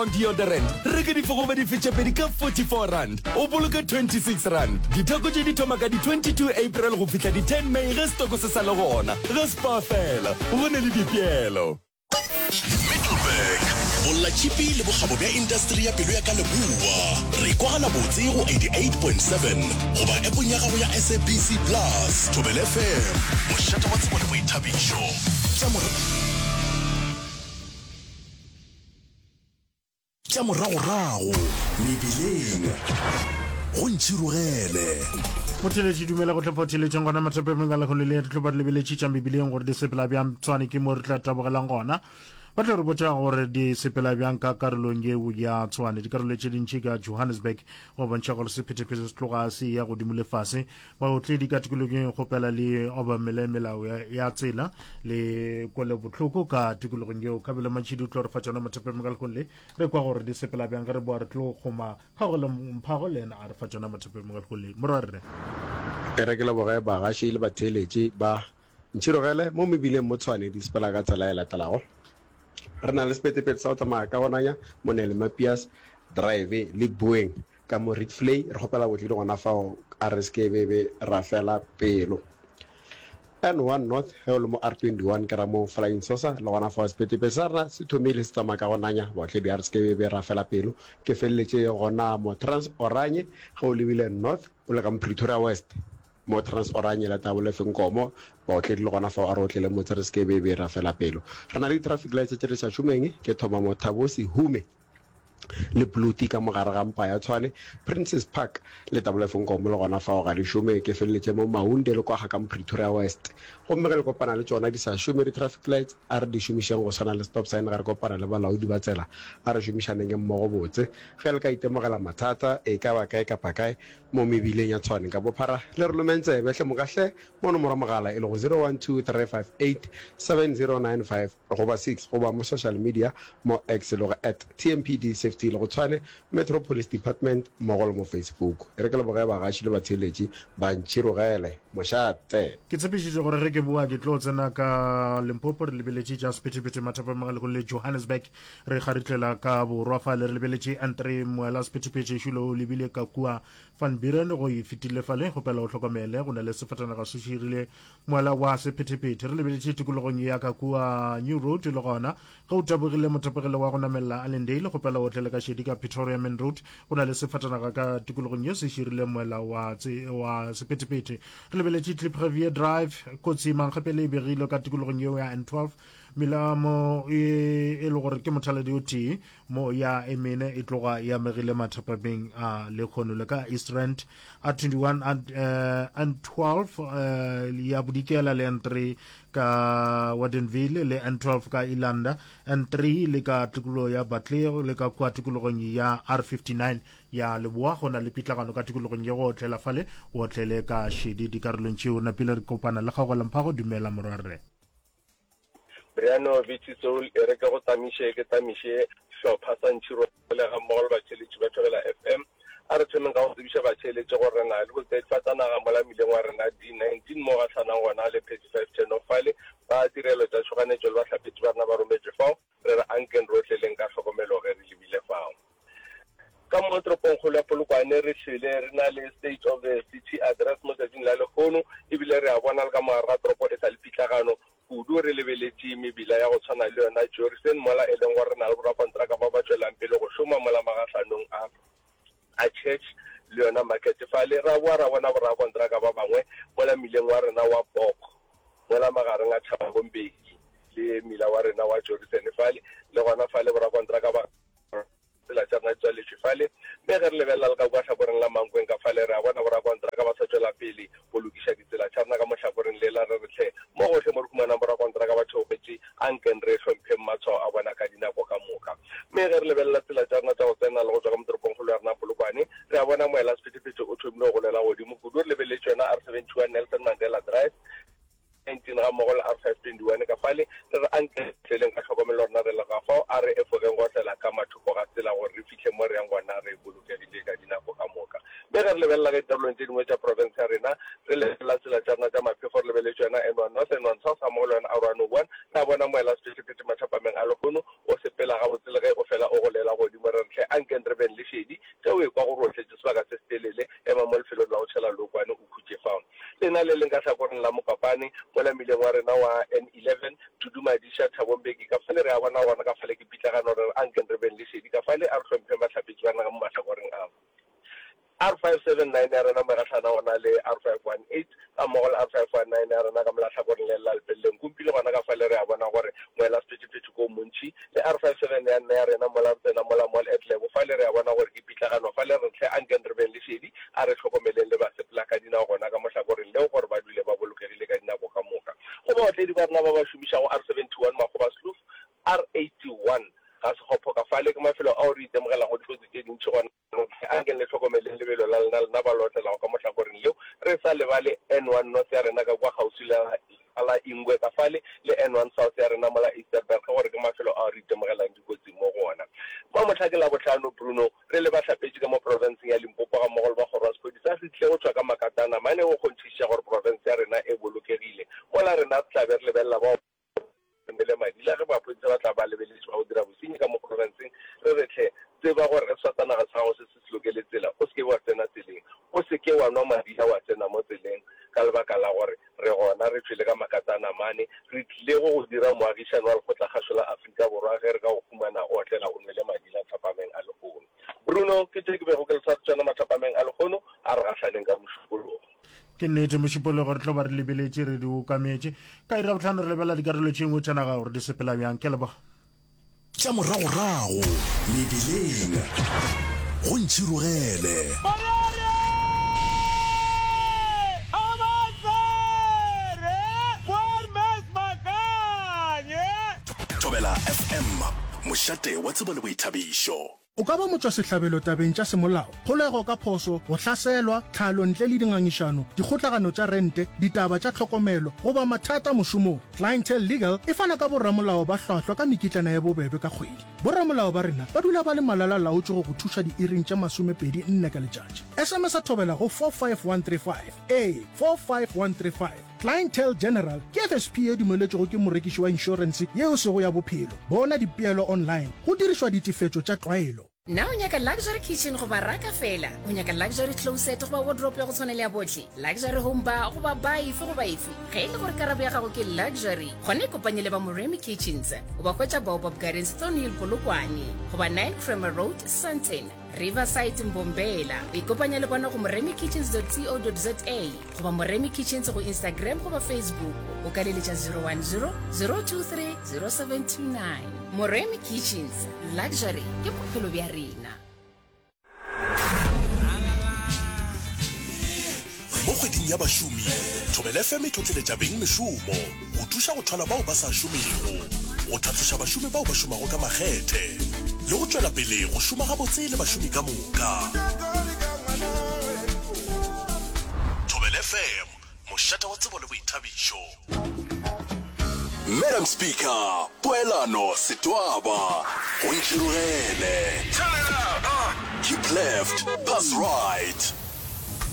Roll-on deodorant, reka dife goba dife tše pedi ka R44, o boloke R26. Ditheko tše di thoma ka di 22 April go fihla di 10 May ge setoko se sa le gona. Ge Spar fela, go ne le dipeelo. Middelburg, Bollatšhipi le bokgabo bja intasteri ya pelo ya ka leboa. Re kwagala botse go 88.7 goba appong ya gago ya SABC Plus. Thobela FM, mošate wa tsebo le boithabišo. Tša Tša moragorago mebileng go ntšhirogele. Motheletši dumela go tlhopha theletšeng gona mathapemeng ka lekgolo le re tlo ba re lebeletše tša mebileng gore di sepela bjang tshwane ke mo re tla tabogelang gona ba tlo re botša gore di sepela bjang ka karolong yeo ya tshwane dikarolo tše dintši ka johannesburg go bontšha gore sephetephete se tloga se ya godimo le fase Baotledi ka tikologong e kgopela le obamele melao ya tsela le kwele bohloko ka tikologong yeo. Kabelo Mantšhidi o tlo re fa tšona mothepeng ka lekgong le re kwa gore di sepela bjang ge re boa re tlo kgoma Kgaogelo Mphago le yena a re fa tšona mothepeng ka lekgong le. Morwarre. E re ke leboge bagaši le batheeletši ba Ntšhirogele mo mebileng mo Tshwane di sepela ka tsela e latelago. Re na le sephethephethe sa go tsamaya ka go nanya mo Nellmapius Drive le Boeng Ka mo Rietvlei, re kgopela botledi gona fao a re se ke be be ra fela pelo. N1 North, ge o le mo R21 ke ra mo Flying Saucer, le gona fao sephetephete sa rena se thomile se tsamaya ka go nanya, baotledi a re se ke be be ra fela pelo. Ke feleletše gona mo Trans Oranje, ge o lebile North o le ka mo Pretoria West, mo Trans Oranje la Tabole Fenkomo, baotledi le gona fao a re otlele motse re se ke be be ra fela pelo. Re na le di-traffic lights tše di sa šomeng, ke thoma mo Thabo Sehume. le Bluti ka mo gare ga mpa ya Tshwane, Princess Park le Tabolefo Nkomo le gona fao ga di šome, ke feleletše mo Maunde le kwa ga ka mo Pretoria West. Gomme ge le kopana le tšona di sa šome di-traffic lights, a re di šomišeng go swana le stop sign ge re kopana le balaodi ba tsela, a re šomišaneng mmogo botse. Ge le ka itemogela mathata e ka ba kae kapa kae mo mebileng ya Tshwane ka bophara, le re lomeng tsebe hle moka hle mo nomoro mogala e lego 0123587095. Goba 6 goba mo social media mo X le go at TMPD Safety le go Tshwane Metro Police Department mmogo le mo Facebook. E re ke leboge bagaši le batheeletši ba Ntšhirogele. Mošate! Ke tshepišitše gore ge ke boa ke tlo tsena ka Limpopo re lebeletše tša sephethephethe mathapama ga lekgolo le Johannesburg re kgaritlela ka borwa fale re lebeletše Andre Moela sephethephethe šulo o lebile ka kua Van Buren go e fetile fale kgopela o hlokomele go na le sefatanaga se širile Moala wa sephethephethe re lebeletše tikologong ya ka kua New Road le gona ge o tabogile mothapegelo wa go namelela Allendale kgopela o tlele ka šedi ka Pretoria Main Road go na le sefatanaga ka tikologong ye se širile moela wa, wa sephethephethe re lebeletše Kliprivier Drive kotsi mankgepele e begilwe ka tikologong yeo ya N12 melamo e, e le gore ke mothaladi o tee mo ya e mene e tloga e amegile mathapameng a lekgono le ka East Rand a 21 and 12 ya bodikela le N3 ka Wardenville le N12 ka Ilanda N3 le ka tikologo ya Batlego le ka kua tikologong ya R59 ya Leboa go na le pitlagano ka tikologong ye go otlela fale o otlele ka šedi dikarolong tšeo napile re kopana le Kgaogelo Mphago dumela morwarre. Briano Viti Soul e re ke go tamiše ke tamiše hlopha sa Ntšhirole ga mmogo le batheeletši ba Thobela FM. A re thomeng ka go tsebiša batheeletši gore re na le botsedifatanaga mola mmileng wa rena D19 mo gahlanang gona le 35 Turn Off fale. Ba tirelo tša tšhoganetšo le bahlapetši ba rena ba rometšwe fao. Re re ankeng rohle leng ka hlokomelo ge re lebile fao. Ka mo toropongkgolo ya Polokwane re hlwele re na le State of the City Address mo tšatšing la lehono, ebile re a bona le ka mo gare ga toropo e sa le pitlagano kudu re lebeletše mebila ya go tshwana le yona Jorissen mola e leng gore re na le borakontraka ba ba tšwelang pele go šoma mola magahlanong a a Church le yona Market fale. Ra boa ra bona borakontraka ba bangwe mola mmileng wa rena wa Bok mola magareng a Thabo Mbeki le mmila wa rena wa Jorissen fale, le gona fale borakontraka ba Tsela tša rena di tswaletšwe fale. Mme ge re lebelela le ka kua hlakoreng la Mankweng ka fale, re a bona borakontraka ba sa tšwela pele go lokiša ditsela tša rena ka mo hlakoreng lela. Re re hle, mo gohle mo re humanang borakontraka ba theogetše, anken re hlompheng matshwao a bona ka dinako ka moka. Mme ge re lebelela tsela tša rena tša go tsena le go tšwa ka mo toropongkgolo ya rena Polokwane, re a bona moelasephethephethe o thomile go golela godimo kudu. Re lebeletše yona R71 Nelson Mandela Drive, 19 gammogo le R521 ka fale, re re anke re tleleng ka tlhokomelo rena re le ga fao, a re efogeng go otlela ka mathoko ga tsela gore re fihle mo re yang gona re bolokegile ka dinako ka moka. Mme ge re lebelela ge dikarolong tše dingwe tša profense ya rena, re lebelela tsela tša rena tša maphefo, re lebeletše yona N1 North, N1 South gammogo le yona R101, re a bona moela sephethephethe mathapameng a lehono o sepela gabotse le ge o fela o golela godimo. godimo re re hle ankeng re beng le šedi. Ge o ekwa gore o tletše sebaka se setelele, ema mo lefelong la go tšhela leokwane o khutše fao. Lena le leng ka hlakoreng la Mokopane, mola mmileng wa rena wa N11, Thudumadiša, Thabo Mbeki, ka fale re a bona gona ka fale ke pitlagano re re ankeng re beng le šedi ka fale, a re hlompheng bahlapetši ba naga mo mahlakoreng a. R579 ya rena megahlana gona le R518 ga mmogo le R519 ya rena ka molahlakoreng le la Lepelleng Kumpile gona ka fale re a bona gore moela sephethephethe ko montši le R57 ya nna ya rena mola re tsena mola Mall at Lebo fale re a bona gore ke pitlagano fale re hle ankeng re beng le šedi a re hlokomeleng le basepela ka dinao gona ka mohlakoreng leo gore ba dule ba bolokegile ka dinako ka moka. Go baotledi ba rena ba ba šomišago R71 Makgobasloof R81 ga Sekgopho ka fale ke mafelo ao re itemogelago dikotsi tše dintši gona. Anke le hlokomeleng lebelo la lena, lena ba le otlelago ka mo hlakoreng leo, re sa lebale N1 North ya rena ka kua kgauswi le la Ingwe ka fale, le N1 South ya rena mola Ysterberg, gore ke mafelo ao re itemogelang dikotsi mo go ona. Mamohla ke Labohlano, Bruno, re le bahlapetši ka mo profenseng ya Limpopo gammogo le ba kgoro ya sephodisa re tlile go tšwa ka makatana mane go kgonthišiša gore profense ya rena e bolokegile, mola rena re tla be re lebelela bao Mele Madila, ge maphodisa ba tla ba lebeletše ba go dira bosenyi ka mo profenseng, re re hle, tseba gore ge sefatanaga sa gago se se se lokele tsela, o se ke wa tsena tseleng. O se ke wa nwa madila wa tsena mo tseleng ka lebaka la gore re gona re tšwele ka makatana mane. Re tlile go go dira moagišani wa Lekgotlakgašo la Afrika Borwa ge re ka go humana o otlela o nwele madila thapameng a lehono. Bruno, ke tše ke bego ke le sware tšona mathapameng a lehono, a re gahlaneng ka Mošupologo. Ke nnete, Mošupologo re tlo ba re lebeletše re di okametše. Ka iri ya bohlano re lebelela dikarolo tše dingwe tša naga gore di sepela bjang. Ke a leboga. Tša moragorago mebileng go ntšhirogele. Thobela FM, mošate wa tsebo le boithabišo. O ka ba motšwasehlabelo tabeng tša semolao, kgolego ka phoso, go hlaselwa, tlhalo ntle le dingangišano, dikgotlagano tša rente, ditaba tša tlhokomelo, goba mathata mošomong. Clientele Legal e fana ka boramolao ba hlwahlwa ka mekitlana ya bobebe ka kgwedi. Boramolao ba rena ba dula ba le malala-laotšwe go go thuša diiring tše 24 ka letšatši. SMS-a Thobela go 45135. Ee, 45135. Clientele General ke FSP ye dumeletšwego ke morekiši wa inšorense ye e sego ya bophelo. Bona dipeelo online go dirišwa ditefetšo tša tlwaelo. Na o nyaka luxury kitchen goba raka feela? O nyaka luxury closet goba wardrobe ya go tshwana le ya bohle? Luxury home bar goba bar efe goba efe? Ge e le gore karabo ya gago ke luxury, gona ikopanye le ba Moremi Kitchens. O ba hwetša Baobab Gardens, Thornhill, Polokwane goba 9 Kramer Road, Sandton. Riverside Mbombela. O ikopanya le bona go moremikitchens.co.za goba Moremi Kitchens go Instagram goba Facebook. O ka leletša 010 023 0729. Moremi Kitchens, luxury ke bophelo bja rena. Mo kgweding ya bašomi, Thobela FM e tlotleletša beng mešomo go thuša go thwala bao ba sa šomego, go tlhatloša bašomi bao ba šomago ka makgethe le go tšwela pele go šoma gabotse le bašomi ka moka. Thobela FM, mošate wa tsebo le boithabišo. Madam Speaker, Poelano Setwaba, go ntšhirogele. Keep left, pass right.